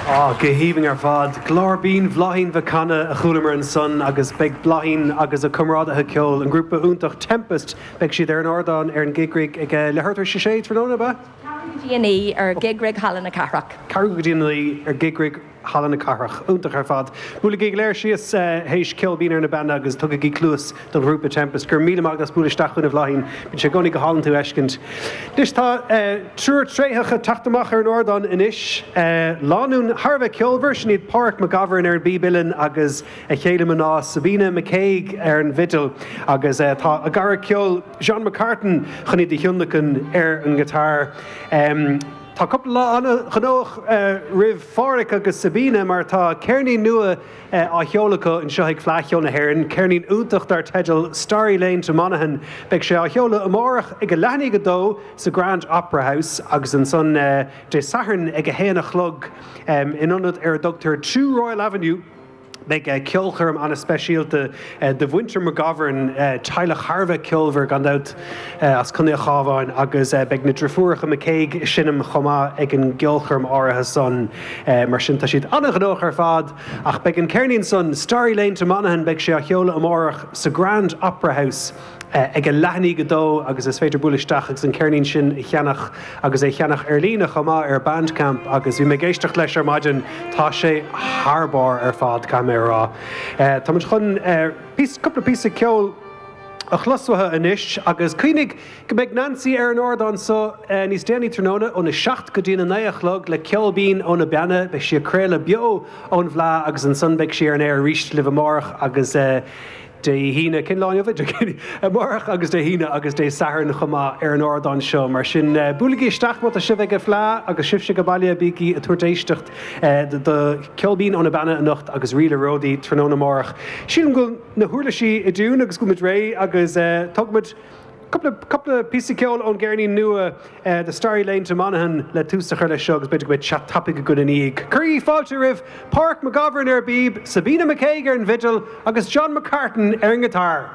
Á, go haoibhinn ar fad. Glór binn Bhláithín Mhic Cana a chualamar ansan agus beidh Bláithín agus a comrádaithe ceoil, an grúpa iontach Tempest, beidh siad ar an ardán ar an Gig Rig ag leathuair tar éis a sé tráthnóna, ab ea? Ceathrú go dtí a naoi ar Gig Rig Halla na Cathrach. Ceathrú go dtí a naoi ar Gig Rig Halla na Cathrach. Iontach ar fad. Buailigí go léir síos théis Ceol Binn ar na Beanna agus tugaigí cluas don ghrúpa Tempest. Go raibh míle maith agat as bualadh isteach chugainn a Bhláithín. Bíonn sé i gcónaí go hálainn tú a fheiscint. Anois tá triúr tréitheach ag teacht amach ar an ardán anois. Lánúin thar a bheith ceolmhar, sin iad Páraic Mac Gabhann ar an bpíb uilleann agus a chéile mná Sabina McCague ar an bhfidil agus tá a gcara ceoil John McCartan chun iad a thionlacan ar an ngiotár. Tá cúpla lá an-ghnóthach roimh Pháraic agus Sabina mar tá ceirnín nua á sheoladh acu anseo ag Fleadh Cheoil na hÉireann, ceirnín iontach dar teideal Starry Lane to Monaghan. Beidh sé á sheoladh amárach ag a leath i ndiaidh a dó sa Grand Opera House agus ansan Dé Sathairn ag a haon a chlog in ionad ar a dtugtar Two Royal Avenue. Beidh ceolchoirm an-speisialta do mhuintir McGovern, teaghlach thar a bheith ceolmhar gan dabht as Contae an Chabháin agus beidh na driofúracha McCague ag seinm chomh maith ag an gceolchoirm áirithe san. Mar sin tá siad an-ghnóthach ar fad ach beidh an ceirnín san, Starry Lane to Monaghan, beidh sé á sheoladh amárach sa Grand Opera House. ag a leath i ndiaidh a dó agus is féidir bualadh isteach agus an ceirnín sin a cheannach agus é a cheannach ar líne chomh maith ar Bandcamp agus bhí mé ag éisteacht leis ar maidin, tá sé thar barr ar fad, caithfidh mé a rá. Tá muid chun píosa, cúpla píosa ceoil a chlos uathu anois agus cuimhnigh go mbeidh Nancy ar an ardán so níos déanaí tráthnóna óna 7 go dtí a 9 a chlog le Ceol Binn ó na Beanna, beidh sí ag craoladh beo ón bhFleadh agus ansan beidh sí ar an aer arís libh amárach agus Dé hAoine, cén lá inniu é? Dé Céadaoin, amárach agus Dé hAoine agus Dé Sathairn chomh maith ar an ardán seo. Mar sin, buailigí isteach má tá sibh ag an Fleadh agus sibhse ag baile, bígí ag tabhairt éisteacht do Ceol Binn ó na Beanna anocht agus Ríle Ródaí tráthnóna amárach. Sílim go bhfuil na huirlisí i dtiún agus go bhfuil muid réidh agus tógfaimid Cúpla, cúpla píosa ceoil ón gceirnín nua The Starry Lane to Monaghan le tús a chur leis seo agus b'fhéidir go mbeidh chat tapaidh againn ina dhiaidh. Cuirigí fáilte roimh Páraic McGovern ar an bpíb, Sabina McCague ar an bhfidil agus John McCartan ar an ngiotár.